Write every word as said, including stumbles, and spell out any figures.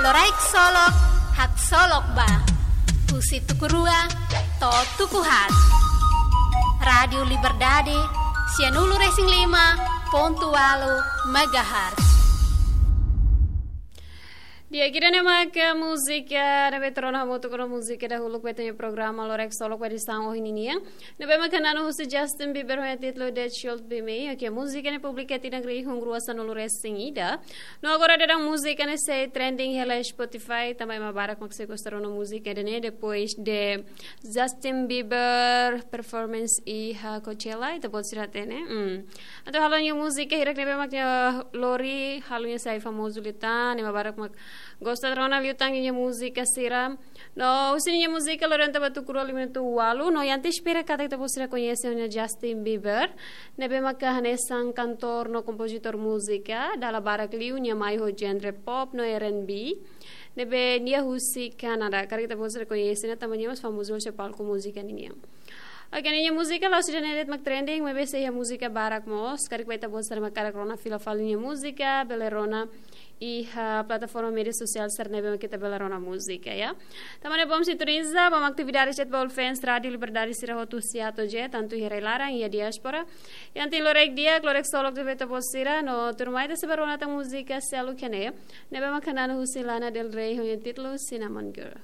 Loraik Solok, Haksolok Ba. Husi tuku rua to'o tuku haat. Rádiu Liberdade, sianulu-resin-lima pontu ualu megahertz. Di'ak, ida-ne'e mak múzika ne'ebé ita rona hamutuk ho múzika dahuluk ba ita-nia programa Loraik Solok ba edisaun ohin ninian. Ne'ebé mak hanesan husi Justin Bieber ho nia títulu The Should Be Me. Oke, múzika ne'e publika tinan rihun rua sanulu-resin-ida. No agora daudaun múzika ne'e sei trending hela Spotify, tanba ema barak mak sei gosta rona múzika ida-ne'e depois de Justin Bieber performance iha Coachella, ita-boot sira hatene. Hmm. Entaun halo nia múzika hirak ne'ebé mak nia lori, halo nia sai famozu liután, ema barak mak gosta rona liután nia múzika sira. No, husi nia múzika lori entaun ba tuku rua lima na'in-tolu, no ita espera katak ita-boot sira koñese ona Justin Bieber, ne'ebé maka hanesan kantór no kompozitór múzika, dala barak liu nia mai ho genre pop no R and B, ne'ebé nia husi Kanadá, karik ita-boot sira koñese ona tanba nia mós famozu husi palku múzika ninian. Oke, nia múzika la'ós ida-ne'e de'it mak trending, maibé sei iha múzika barak mós, karik ba ita-boot sira mak hakarak rona fila fali nia múzika, bele rona iha plataforma média sosiál sira ne'ebé mak ita bele rona múzika, ya. Tanba ne'e bom sintoniza, bom atividade de'it ba all fans Rádiu Liberdade sira hotu husi atu je, tantu iha rai-laran, iha diáspora. Entaun loraik di'ak, loraik solok ba ita-boot sira, no tuirmai ita sei bá rona tan múzika seluk iha ne'e, ne'ebé mak hanesan husi Lana Del Rey ho nia títulu Cinnamon Girl.